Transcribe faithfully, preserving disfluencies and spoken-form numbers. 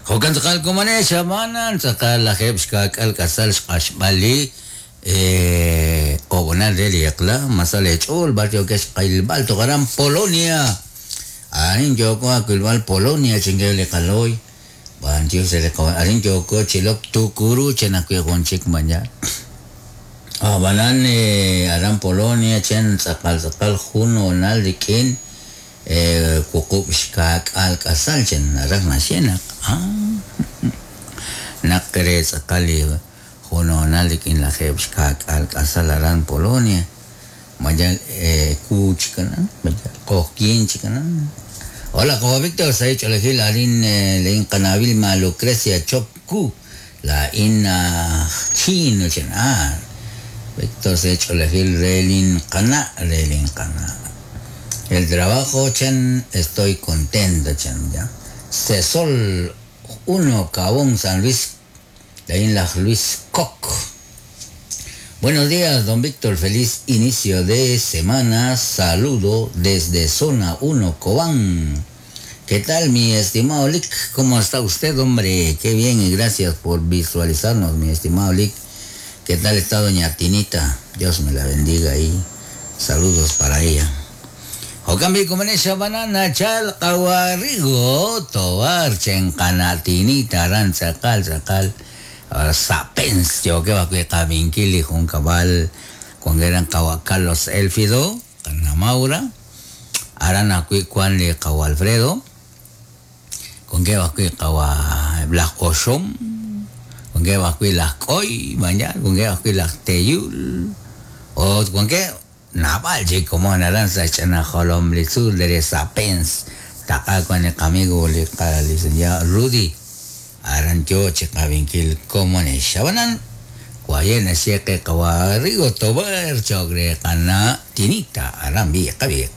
Jo'kan tz'aqal komonex xamanan tz'aqal lajeb' xka'k'al k'asal xq'axb'al li eh, ob'onal re li eq'la masal ech'ool b'ar yo'kex qilb'al toqaran Polonia. Arin yoko akilb'al Polonia chinge li qalooy. B'anchiw se li qawa arin yoko chilok tukuru chenakwi jun chik maña. Ab'anan eh, aran Polonia chen tz'aqal tz'aqal jun onal rik'in eh, wuqub' xka'k'al k'asal chen naraj naxye naq ah, naq re tz'aqal li jun onal rik'in lajeb' xka'k'al k'asal aran Polonia mayal eh, ku chikanan mayal q'oqyin chikanan. Hola, como Víctor Saich Olejil, arin eh, lein qanabil ma Lucrecia Chopku, la ina chino chen ah Víctor Saich Olejil relin qana relin qana. El trabajo chen estoy contento chen ya. Cesol uno Cabón San Luis, lein la Luis Koch. Buenos días, don Víctor. Feliz inicio de semana. Saludo desde zona uno, Cobán. ¿Qué tal, mi estimado Lick? ¿Cómo está usted, hombre? Qué bien y gracias por visualizarnos, mi estimado Lick. ¿Qué tal está doña Tinita? Dios me la bendiga y saludos para ella. Jokambi kumanesha banana chal kawarrigo tobar chenkana Tinita ran tzakal tzakal sapens yo que va que kabinkili jun cabal con eran Carlos Elfido Ana Maura arana kui kuan li kawa Alfredo con que va que kawa Blas Oshom con que va que las koi mañana con que va que las teyul o con que nabal chico como naranza chana jolom lizul de sapens taca con el amigo le licenciado Rudy arancho chikabinkil como ne shabanan guayen siete kawarrigo tobar chogre kana tinita arambi kabiek.